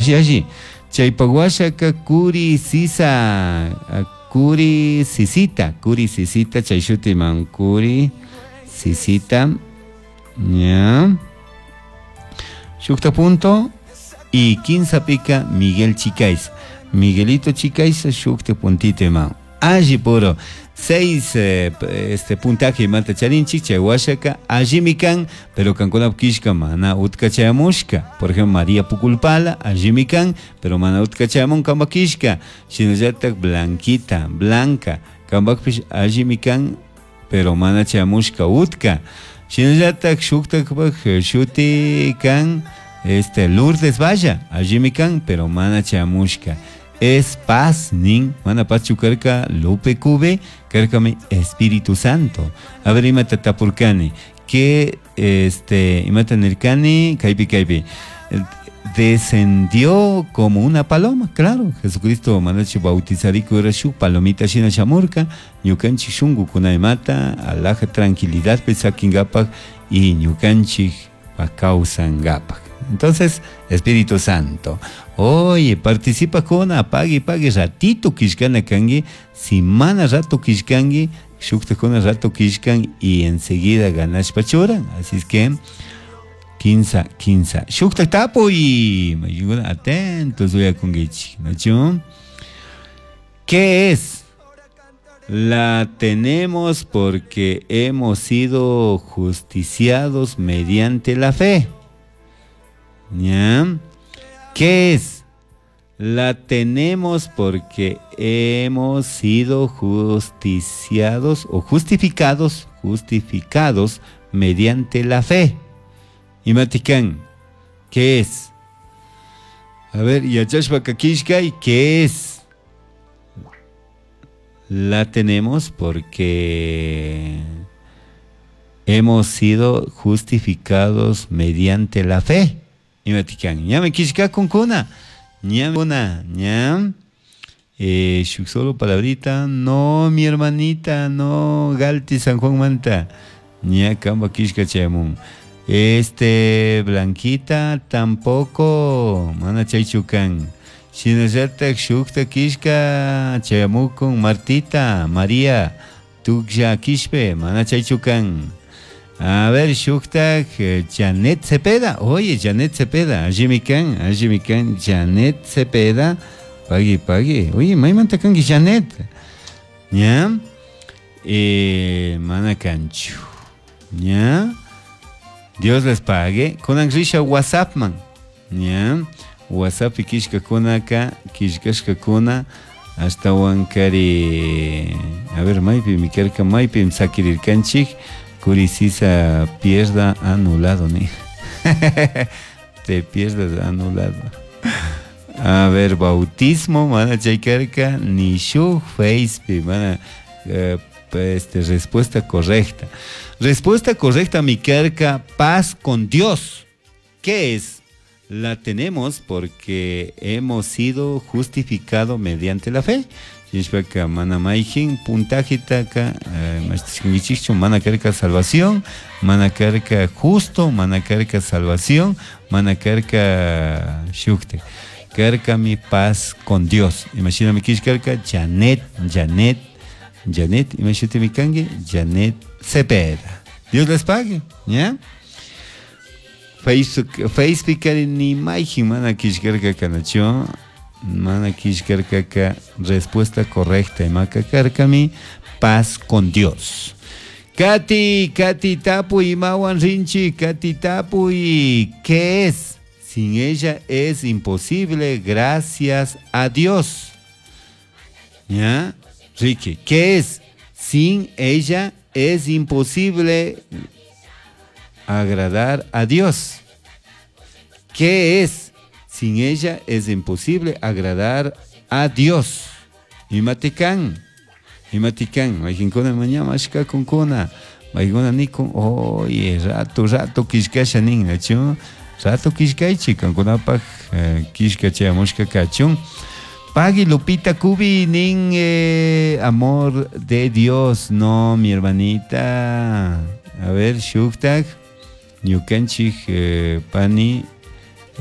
Alli alli. Chaypak washaka kuri sisa, kuri sisita, kuri sisita chay shutiman kuri sisita. Ya. Shukta punto y kinsapika Miguel Chicaiza. Miguelito Chicaiza shukta puntito iman. Alli puro. Seis este puntaje imata charinchik chay washaka allimi kan, pero kankunap kishka mana utka chayamushka. Por ejemplo, María Puculpala allimi kan, pero mana utka chayamun kamba kishka. Shinallatak Blanquita, Blanca, kambakpish allimi kan, pero mana chayamushka utka. Shinallatak shuktakpak shuti kan este Lourdes Valla, allimi kan, pero mana chayamushka. Es paz nin, mana paz chukarka Lupe Cube, karkami Espíritu Santo. A ver, imata tapurkani, que este, imata nirkani, kaypi kaypi. Descendió como una paloma, claro. Jesucristo manachi bautizariku era shu palomita shina shamurka, ñukanchik shunqukuna imata, alaja tranquilidad pesakingapak y ñukanchik kawsangapak. Entonces, Espíritu Santo. Oye, participa con apague, pague, ratito kishkana kangi, si mana rato kishkangi, shukta con rato kishkan y enseguida ganas pachuran. Así es que, quinza, quinza. Shukta tapo y atentos voy a conguichi, ¿no? ¿Qué es? La tenemos porque hemos sido justiciados mediante la fe. ¿Ya? ¿Qué es? La tenemos porque hemos sido justiciados o justificados, justificados mediante la fe. Y Maticán, ¿qué es? A ver, Yachashpa Kakishkay, ¿qué es? La tenemos porque hemos sido justificados mediante la fe. Y Maticán, ya me kishka con kuna. Ña, ña. Solo palabrita, no, mi hermanita, no, Galti San Juan Manta. Ña, kamba kishka chayamun. Este, Blanquita, tampoco, mana chaychukan. Shinallatak shukta kishka chayamukun Martita, María, tuklla kishpe, mana chaychukan. A ver, shuktak Janet Cepeda. Oye, Janet Cepeda, allí kan, allí kan, Janet Cepeda. Pagui, pagui. Oye, maymanta kanki Janet. ¿Ya? Mana kanchu. ¿Ya? Dios les pague. Kunan risha WhatsApp man. ¿Ya? WhatsApp kishka kunaka, kishkashka kuna, hasta wankari. A ver, maypi mi karka, maypi sakirirkanchik. Curisisa pierda anulado, ni. Te pierdas anulado. A ver, bautismo, mana chaykarka, ni shu face, mana, este, respuesta correcta. Respuesta correcta, mi carca, paz con Dios. ¿Qué es? La tenemos porque hemos sido justificados mediante la fe. Shishpaka mana maijin puntajitaka mashtishkinkichikchu mana karka salvación, mana karka justo, mana karka salvación, mana karka shukte. Karka mi paz con Dios. Imagina mi karka Janet, Janet, Janet, imagínate mi kangi, Janet Cepeda. Dios les pague, ¿ya? Facebook, Facebook ni maijin mana kishkarka kanacho. Mana kishkarkaka, respuesta correcta. Imaka karkami, paz con Dios. Katy, Katy Tapuy, Mawan Rinchi, Katy Tapuy, ¿qué es? Sin ella es imposible, gracias a Dios. ¿Ya? Ricky, ¿qué es? Sin ella es imposible agradar a Dios. ¿Qué es? Sin ella es imposible agradar a Dios. Imaticán, imaticán, majinkuna mañana mashka kunkuna, majinkuna nikun, oye, rato, rato kishkasha nin, nachu, rato kishkaichi, kankunapaj kishka chayamushka kachun. Pagui Lupita Cubi, nin, amor de Dios, no, mi hermanita. A ver, shuktak, ñukanchik, pani.